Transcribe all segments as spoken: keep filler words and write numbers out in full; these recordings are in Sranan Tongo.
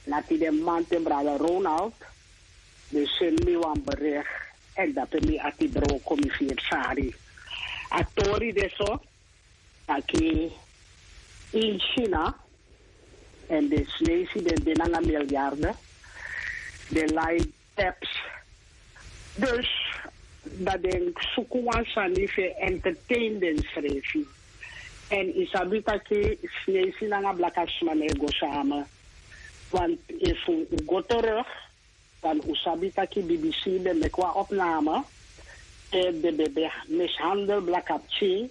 Nati den manten brada Ronald, den seni mi wan bericht, èn dape mi ati broko mi firi sari. A tori de so, taki in China, èn den Sinesi den de nanga miljarden, den lai taps. Dus, dan den suku wan sani fu e entertain densrefi. Èn yu sabi taki Sinesi nanga blaka sma no e go sama. Want efu un go terug, dan un sabi taki B B C ben meki wan opname, te den ben ben mishandel blaka pikin,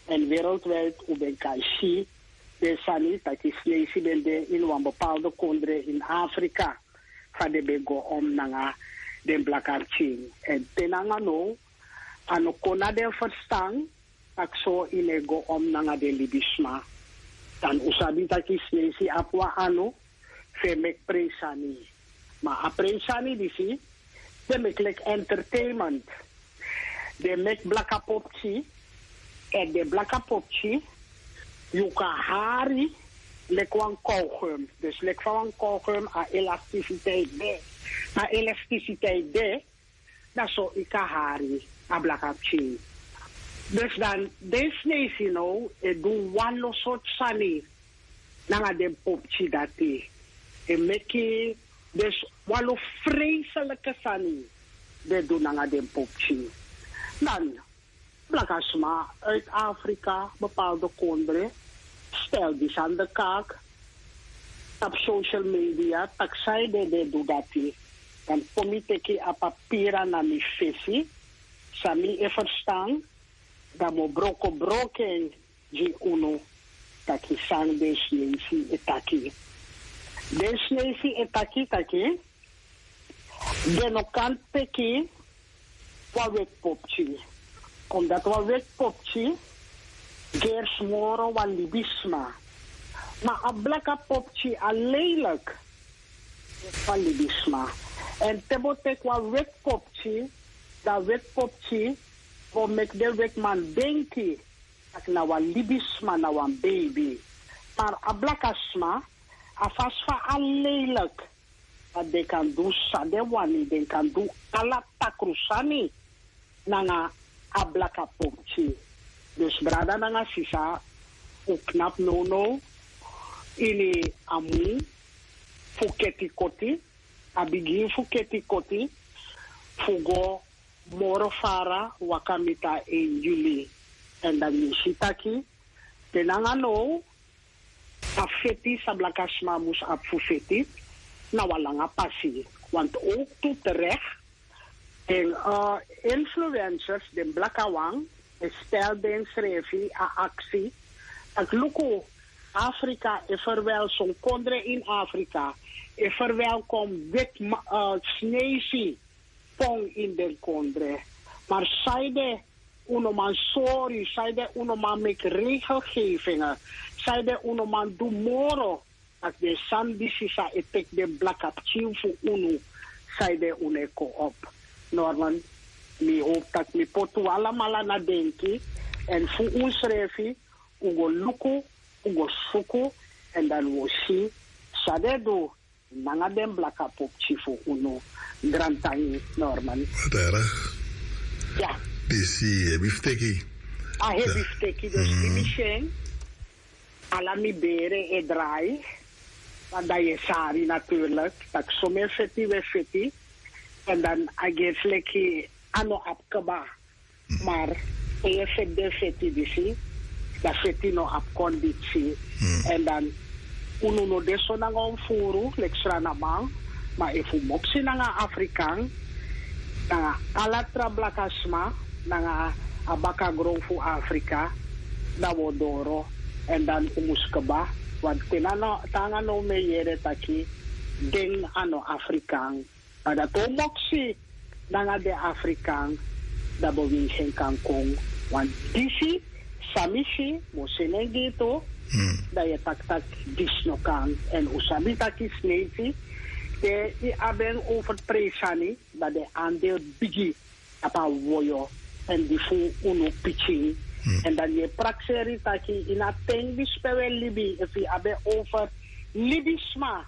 èn wereldwijd un ben kan si den sani taki Sinesi ben de ini wan bepaalde kondre ini Afrika, fa den ben go om nanga den blaka pikin. Èn te nanga now, a no kon na den ferstan, taki so yu no e go om nanga den libisma. Dan un sabi taki Sinesi abi wan anu fu e meki prei sani. Ma a prei sani disi, den meki leki entertainment. Den meki blaka popki, èn den blaka popki, yu kan hari leki wan kauwgum. Dus leki fa wan kauwgum a elasticiteit de. A elasticiteit de, dan so yu kan hari a blaka pikin. Dus dan den Sinesi now e du wanlo sortu sani nanga den popki dati. E meki dus wanlo vreselijke sani den du nanga den popki. Dan blaka sma uit Afrika, bepaalde kondre, stel disi aan de kaak tapu social media, taki san ede den du dati. Dan kon mi teki a papira na mi fesi, san mi e ferstan, dan mi o broko broko en gi unu, taki san den Sinesi e taki. Den Sinesi e taki taki den no kan teki wan weti popki. Omdat wan weti popki gersi moro wan libisma. Ma a blaka popki a lelijk wan libisma. Èn te bo teki wan weti popki, dan weti popki bo meki den wetiman denki taki na wan libisma, na wan beibi. Ma a blaka sma, a fasi fa a lelijk, dan den kan du san den wani, den kan du ala takru sani nanga a blaka popki. Dus brada nanga sisa, un knapu nownow ini a mun fu keti koti, a bigin fu keti koti, fu go moro fara waka miti a één juli. Èn dan yu si taki te nanga now, a feti san blaka sma mus abi fu feti, na wan langa pasi. Want ook tu terek, den, eh, influencers, den blaka wan, e stel densrefi a aksi, taki luku, Afrika e verwel, son kondre in Afrika e verwelkom weti ma-, eh, Sinesi pon in den kondre. Maar san ede un no man sori, san ede un no man meki regelgevingen, san ede un no man du moro, taki den sani disi san e teki den blaka pikin fu unu, san ede un no e kon op. Norman, mi hopi taki mi poti un alamala na denki, èn fu unsrefi, un go luku, un go suku, èn dan un o si san den e du nanga den blaka popki fu unu. Grantangi, Norman. Dara. Ya. Disi hebi fu teki. A hebi fu teki, dus di mi si en, ala mi bere e drai. Want dan yu e sari natuurlijk, taki somen feti we feti. Èn dan a gersi leki a no abi kaba. Maar te yu e feti den feti disi, dan feti no abi kondisi. Èn dan unu no de so nanga un furu leki Sranaman, ma efu un moksi nanga Afrikan, nanga ala tra blaka sma, nanga a bakagron fu Afrika, dan un o doro. Èn dan un mus kaba, want te na no, te nanga now mi e yere taki den a no Afrikan. Ma dati o moksi nanga den Afrikan, dan bo winsi en kan kon. Want disi, san mi si, bo seni en gi tu, dan yu e taki taki disi no kan. Èn un sabi taki Sinesi, te yu abi en over prei sani, dan den andeel bigi tapu a woyo, èn di fu unu pikin. Èn dan yu e prakseri taki ini a ten disi pe un e libi, efu yu abi en over libisma,